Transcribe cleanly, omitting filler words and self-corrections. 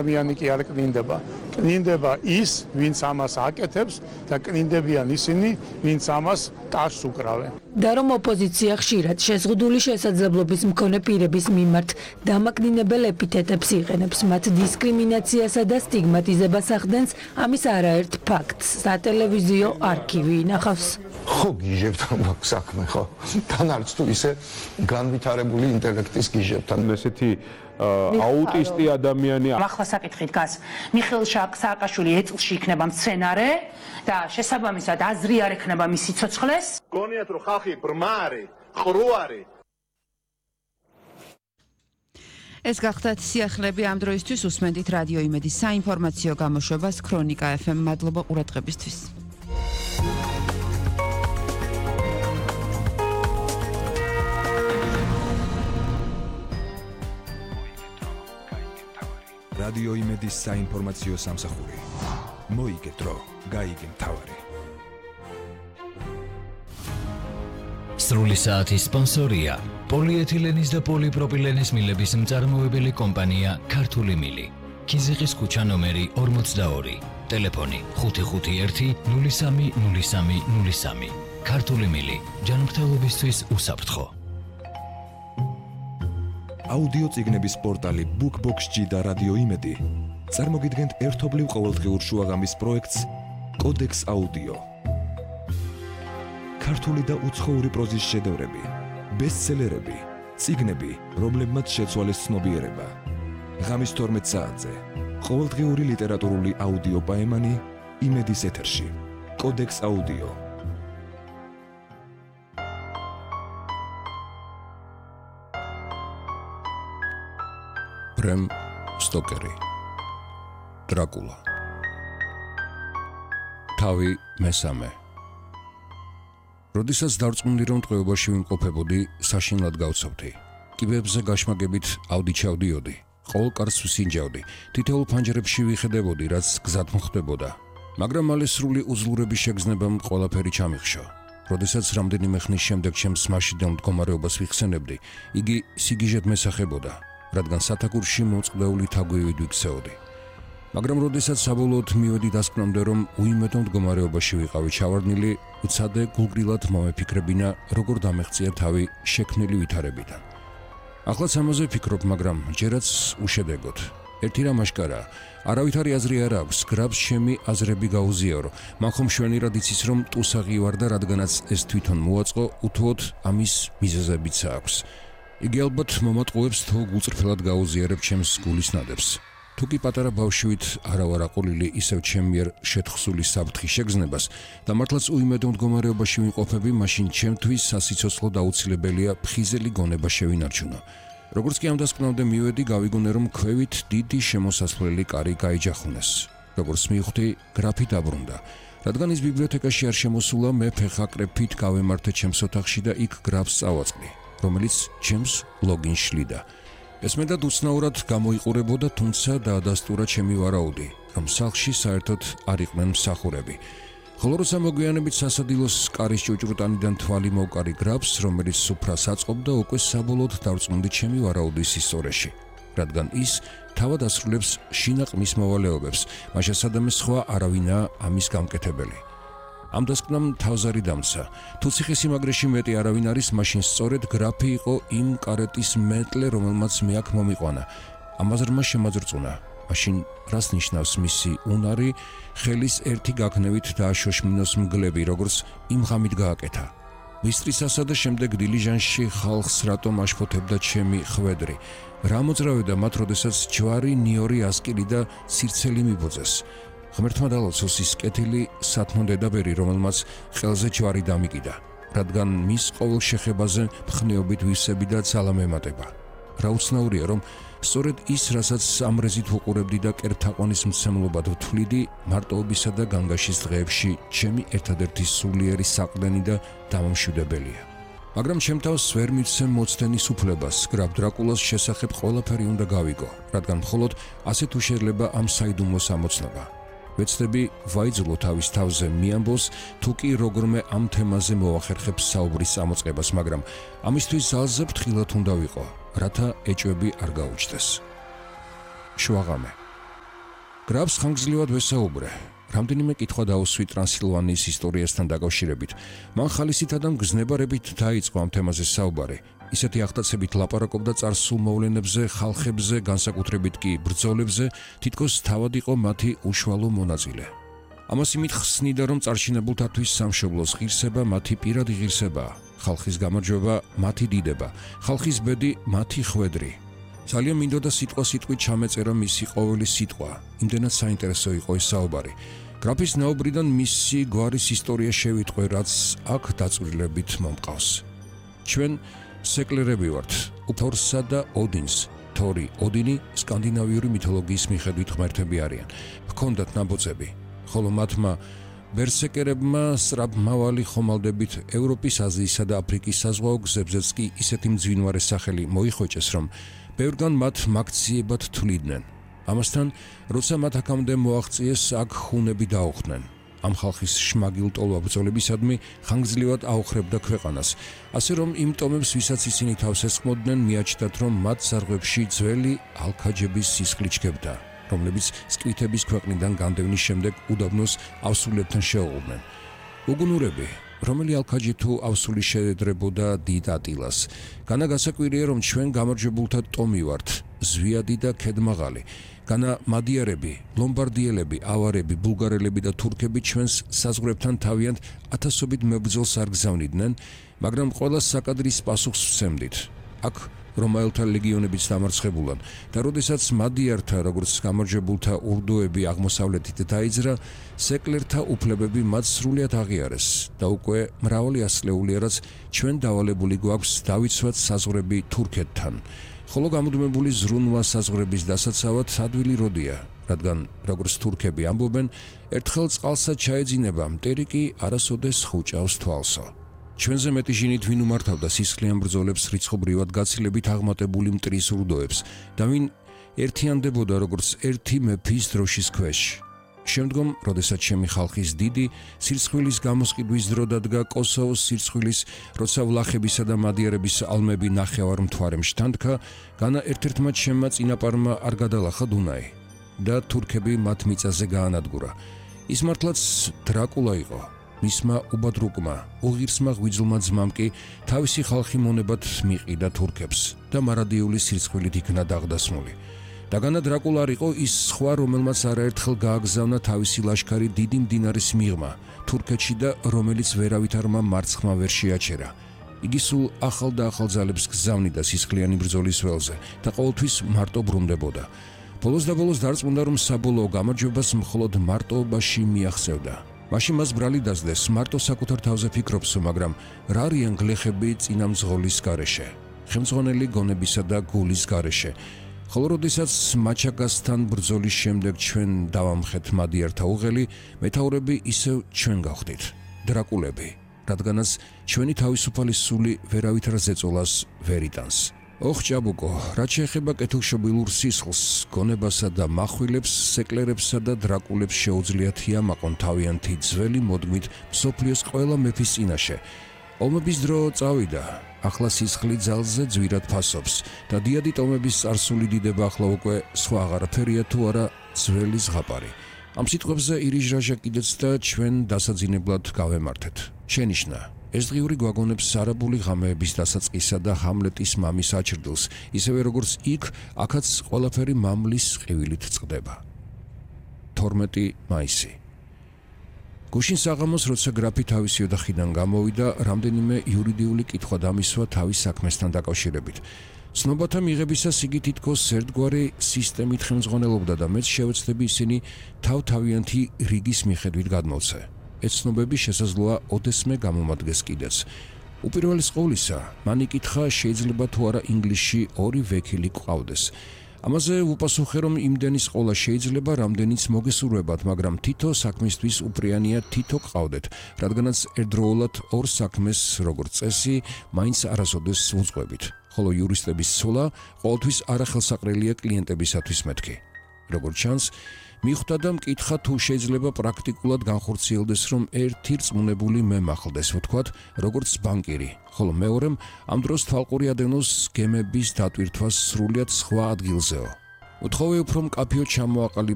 ადამიანი კი არ კნინდება. კნინდება ის, ვინც ამას აკეთებს და კნინდებიან ისინი, ვინც ამას ტარს უკრავენ. და რომ ოპოზიცია ხშირად შეზღუდული შესაძლებლობის მქონე პირების მიმართ დამაკნინებელ ეპითეტებს იყენებს, მათ დისკრიმინაციასა და სტიგმატიზებას ახდენს, ამის არაერთ ფაქტს სატელევიზიო არქივი ინახავს. ხო გიჟებთან მაქვს საქმე, ხო? თან არც თუ ისე განვითარებული ინტელექტის გიჟებთან. ესეთი აუტისტი ადამიანი. ახლა საკითხი დგას. მიხეილ სააკაშვილი ეწლში იქნება მცენარე და შესაბამისად აზრი არ ექნება მის სიცოცხლეს. გონიათ რომ ხალხი ბრმა არის, ყრუ არის. ეს გახდათ სიახლეები ამ დროისთვის. უსმენთ რადიო იმედის საინფორმაციო გამოშვებას ქრონიკა FM. მადლობა ყურადღებისთვის. რადიო იმედის საინფორმაციო სამსახური. მოიგე დრო, გაიგე მთავარი. სრული საათის სპონსორია პოლიეთილენის და პოლიპროპილენის მილების მწარმოებელი კომპანია ქართული მილი. ქიზიყის ქუჩა ნომერი 42. ტელეფონი 551 03 03 03. ქართული მილი. ჯანმრთელობისთვის უსაფრთხო. აუდიო წიგნების პორტალი BookBox-G და რადიო იმედი წარმოგიდგენთ ერთობლივ ყოველდღიურ შუაღამის პროექტს კოდექს აუდიო. ქართული და უცხოური პროზის შედევრები, ბესტსელერები, წიგნები, რომლებმაც შეცვალეს ცნობიერება. ღამის 12 საათზე ყოველდღიური ლიტერატურული აუდიო პაემანი იმედის ეთერში. კოდექს აუდიო. ბრემ სტოკერი. დრაკულა. თავი მესამე. როდესაც დარწმუნდი რომ ტყვეობაში ვიმყოფებოდი, საშინლად გავცობდი. კიბებზე გაშმაგებით ავდიჩავდიოდი. ყოველ კარს ვსინჯავდი. თითოეულ ფანჯრებში ვიხედებოდი, რაც გზად მოხდებოდა. მაგრამ მალე სრული უძლურების შეგრძნებამ ყველაფერი ჩამიხშო. როდესაც რამდენიმე ხნის შემდეგ ჩემს მაშინდელ მდგომარეობას ვიხსენებდი, იგი სიგიჟედ მესახებოდა. რადგან სათაკურში მოწყდეული თაგვივით ვიქცეოდი. მაგრამ როდესაც საბოლოოდ მივედი დასკვნამდე, რომ უიმედო მდგომარეობაში ვიყავი ჩავარდნილი, უცადე გულგრილად მომეფიქრებინა, როგორ დამეღწია თავი შექმნილი ვითარებიდან. ახლაც ამაზე ვფიქრობ, მაგრამ ჯერაც უშედეგოდ. ერთი რამ აშკარაა, არავითარი აზრი არ აქვს, გრაბს ჩემი აზრები გაუზიარო. მან ხომ შვენიერად იცის, რომ ტუსაღი ვარ და რადგანაც ეს თვითონ მოაწყო, უთუოდ ამის მიზეზებიც აქვს. იგი ალბათ მომატყუებს თუ გულწრფელად გაუზიარებ ჩემს გულის ნადებს. თუ კი პატარა ბავშვით არავარ აყოლილი ისევ ჩემ მიერ შეთხსული საფრთხი შეგრძნებას და მართლაც უიმედო მდგომარეობაში ვიმყოფები, მაშინ ჩემთვის სასიცოცხლოდ აუცილებელია ფხიზელი გონება შევინარჩუნო. როგორც კი ამ დასკვნამდე მივედი, გავიგონე, რომ ქვევით დიდი შემოსასვლელი კარი გაიჯახუნეს. როგორც მივხვდი, გრაფი დაბრუნდა. რადგან ის ბიბლიოთეკაში არ შემოსულა, მე ფეხაკრეფით გავემართე ჩემს ოთახში და იქ გრაფს წავაწყდი, რომელიც ჩემს ლოგინს შლიდა. ესმენდად უცნაურად გამოიყურებოდა, თუმცა დაადასტურა ჩემი ვარაუდი, რომ სახლში საერთოდ არ იყვნენ მსახურები. ხოლო როცა მოგვიანებით სასადილოს კარის ჭუჭრუტანიდან თვალი მოვკარი გრაფს, რომელიც სუფრას აწყობდა, უკვე საბოლოოდ დავწმუნდი ჩემი ვარაუდის ისტორიაში, რადგან ის თავად ასრულებს შინაყმის მოვალეობებს, მაშასადამე სხვა არავინაა ამის გამკეთებელი. ამ დასკვნამ თავზარი დამცა. თუ ციხესიმაგრეში მეტი არავინ არის, მაშინ სწორედ გრაფი იყო იმ კარეტის მეტლე, რომელმაც მე აქ მომიყვანა. ამაზრმა შემაძრწუნა. მაშინ რას ნიშნავს მისი უნარი, ხელის ერთი გაქნევით დააშოშმინოს მგლები, როგორც იმ ღამით გააკეთა. მისტრისასა და შემდეგ დილიჟანში ხალხს რატომ აშფოთებდა ჩემი ხვედრი. რა მოძრავდა მათ, როდესაც ჯვარი, ნიორი, ასკილი და სირცელი მიბოძეს. ღმერთმა დალოცოს ის კეთილი სათმო დედაბერი, რომელმაც ხელზე ჯვარი დამიკიდა, რადგან მის ყოველ შეხებაზე მხნეობით ვისები და ძალა მემატება. რა უცნაურია, რომ სწორედ ის, რასაც ამრეზით ვუყურებდი და კერპთაყვანის მცემლობად ვთვლიდი, მარტოობისა და განგაშის დღეებში ჩემი ერთადერთი სულიერი საყრდენი და დამამშვიდებელია. მაგრამ ჩემ თავს ვერ მიცემ მოცდენის უფლებას, გრაფ დრაკულას შესახებ ყველაფერი უნდა გავიგო, რადგან მხოლოდ ასეთ უშეძლება ამ საიდუმლოს ამოცნობა. ვეცდები ვაიძულო თავის თავზე მიამბოს, თუ კი როგორმე ამ თემაზე მოახერხებს საუბრის წამოწყებას, მაგრამ ამისთვის ძალზე ფრთხილად უნდა ვიყო, რათა ეჭვები არ გაუჩნდეს. შუაღამე. გრაფს ხანგრძლივად ვესაუბრე. რამდენიმე კითხვა დაუსვი ტრანსილვანიის ისტორიასთან დაკავშირებით. მან ხალისითა და მგზნებარებით დაიწყო ამ თემაზე საუბარი. ისეთი ახდაცებით ლაპარაკობდა წარსულ მოვლენებზე, ხალხებზე, განსაკუთრებით კი ბრძოლებზე, თითქოს თავად იყო მათი უშუალო მონაწილე. ამას იმით ხსნიდა, რომ წარჩინებულთათვის სამშობლოს ღირსება მათი პირადი ღირსებაა, ხალხის გამარჯვება მათი დიდება, ხალხის ბედი მათი ხვედრი. ძალიან მინდოდა სიტყვასიტყვით ჩამეწერა მისი ყოველი სიტყვა, იმდენად საინტერესო იყო ეს საუბარი. გრაფის ნაუბრიდან მისი გვარის ისტორია შევიტყვე, რაც აქ დაწვრილებით მომყავს. ჩვენ სეკლერები ვართ, თორსა და ოდინს. თორი, ოდინი სკანდინავიური მითოლოგიის მიხედვით ღმერთები არიან. ჰქონდათ ნაბოწები, ხოლო მათმა ბერსეკერებმა სწრაფმავალი ხომალდებით ევროპის, აზიისა და აფრიკის საზღვაო გზებზეც კი ისეთი მძვინვარე სახელი მოიხოჭეს, რომ ბევრგან მათ მაქციებად თვლიდნენ. ამასთან, როცა მათ აქამდე მოაღწიეს, აქ ხუნები დაუხდნენ. ამ ხალხის შმაგილტოლვა ბრძოლებისადმი ხანგრძლივად აოხრებდა ქვეყანას, ასე რომ იმ ტომებს, ვისაც ისინი თავს ესხმოდნენ, მიაჩნდათ, რომ მათ ზარღვებში ძველი ალქაჯების სისხლი ჩქებდა, რომლებიც სკვითების ქვეყნიდან განდევნის შემდეგ უდაბნოს ავსულებთან შეუღლდნენ. უგუნურები, რომელი ალქაჯი თუ ავსული შეედრებოდა დიდ ატილას. განა გასაკვირია, რომ ჩვენ გამარჯვებულთა ტომი ვართ, ზვიადი და ქედმაღალი. განა მადიარები, ლომბარდიელები, ავარები, ბულგარელები და თურქები ჩვენს საზღვრებთან თავიანთ ათასობით მებრძოლს არ გზავნიდნენ, მაგრამ ყველა საკადრის პასუხს ვცემდით. აქ რომაელთა ლეგიონებიც დამარცხებულან და როდესაც მადიართა, როგორც გამარჯვებულთა ურდუები აღმოსავლეთით დაიძრა, სეკლერთა უფლებები მათ სრულიად აღიარეს და უკვე მრავალი ასლეულია, რაც ჩვენ დავალებული გვაქვს დავიცვათ საზღვრები თურქეთთან. ხოლო გამუდმებული ზრუნვა საზღვრების დასაცავად ადვილი როდია, რადგან როგორც თურქები ამბობენ, ერთხელ წყალსა ჩაეძინება, მტერი კი არასოდეს ხუჭავს თვალსო. ჩვენზე მეტი ჟინით ვინ უმართავდა სისხლიან ბრძოლებს რიცხობრივად გაცილებით აღმატებული მტრის ურდოებს და ვინ ერთიანდებოდა როგორც ერთი მეფის დროშის ქვეშ. შემდგომ, როდესაც ჩემი ხალხის დიდი სირცხვილის გამოსყიდვის დრო დადგა კოსოვოს სირცხვილის, როცა ვლახებისა და მადიარების ალმები ნახევარ მთვარემ შთანთქა, განა ერთ-ერთმა ჩემმა წინაპარმა არ გადალახა დუნაი და თურქები მათ მიწაზე გაანადგურა. ის მართლაც დრაკულა იყო. მისმა უბადრუკმა, უღირსმა ღვიძლმა ძმამ კი თავისი ხალხი მონებად მიყიდა თურქებს და მარადიული სირცხვილით იქნა დაღდასმული. დაგანა დრაკულა არ იყო ის სხვა, რომელმაც არაერთხელ გააგზავნა თავისი ლაშქარი დიდი მდინარის მიღმა თურქეთში და რომელიც ვერავითარმა მარცხმა ვერ შეაჩერა. იგი სულ ახალ და ახალ ძალებს გზავნიდა სისხლიანი ბრძოლის ველზე და ყოველთვის მარტო ბრუნდებოდა. ბოლოს და ბოლოს დარწმუნდა, რომ საბოლოო გამარჯვებას მხოლოდ მარტოობაში მიაღწევდა. მაშინ მას ბრალი დასდეს, მარტო საკუთარ თავზე ფიქრობსო, მაგრამ რა არიან გლეხები წინამძღოლის გარეშე, ხელმძღვანელი გონებისა და გულის გარეშე. ხოლო როდესაც მაჩაგასთან ბრძოლის შემდეგ ჩვენ დავამხეთ მადიართა უღელი, მეთაურები ისევ ჩვენ გავხდით, დრაკულები, რადგანაც ჩვენი თავისუფალი სული ვერავითარ ზეწოლას ვერ იტანს. ოხ ჭაბუკო, რაც შეეხება კეთილშობილურ სისხლს, გონებასა და מחვილებს, სეკლერებსა და დრაკულებს შეუძლიათ იამაყონ თავიანთი ძველი მოდმით მსოფლიოს ყველა მეფის წინაშე. ომების დრო წავიდა, ახლა სისხლი ძალზე ძვირად ფასობს და დიადი ტომების წარსული დიდება ახლა უკვე სხვა აღარაფერია თუ არა ძველი ზღაპარი. ამ სიტყვებზე ირიჟრაჟა კიდეც და ჩვენ დასაძინებლად გავემართეთ. შენიშნა, ეს დღიური გვაგონებს არაბული ღამეების დასაწყისა და ჰამლეტის მამის აჩრდილს, ისევე როგორც იქ, აქაც ყველაფერი მამლის ყივილით წყდება. 12 მაისი. გუშინ საღამოს, როცა გრაფი თავისი ოთახიდან გამოვიდა, რამდენიმე იურიდიული კითხვა დამისვა თავის საქმესთან დაკავშირებით. ცნობათა მიღებისას იგი თითქოს ერთგვარი სისტემით ხელმძღვანელობდა და მეც შევეცდები ისინი თავ-თავიანთი რიგის მიხედვით გადმოვცე. ეს ცნობები შესაძლოა ოდესმე გამომადგეს კიდეც. უპირველეს ყოვლისა, მან იკითხა, შეიძლება თუ არა ინგლისში 2 ვექილი გვყავდეს. ამაზე უპასუხე, რომ იმდენის ყოლა შეიძლება, რამდენიც მოგესურვებათ, მაგრამ თითო საქმისთვის უპრიანია თითო გყავდეთ, რადგანაც ერთდროულად 2 საქმეს, როგორც წესი, მაინც არასოდეს უძღვებით, ხოლო იურისტების ცოლა ყოველთვის არახელსაყრელია კლიენტებისათვის მეთქი. როგორც ჩანს, მიხვდა და მკითხა, თუ შეიძლება პრაქტიკულად განხორციელდეს, რომ ერთი რწმუნებული მე მახლდეს, ვთქვათ, როგორც ბანკირი, ხოლო მეორემ ამ დროს თვალყური ადენოს გემების დატვირთვას სრულიად სხვა ადგილზეო. უთხოვე უფრო მკაფიო ჩამოაყალიბო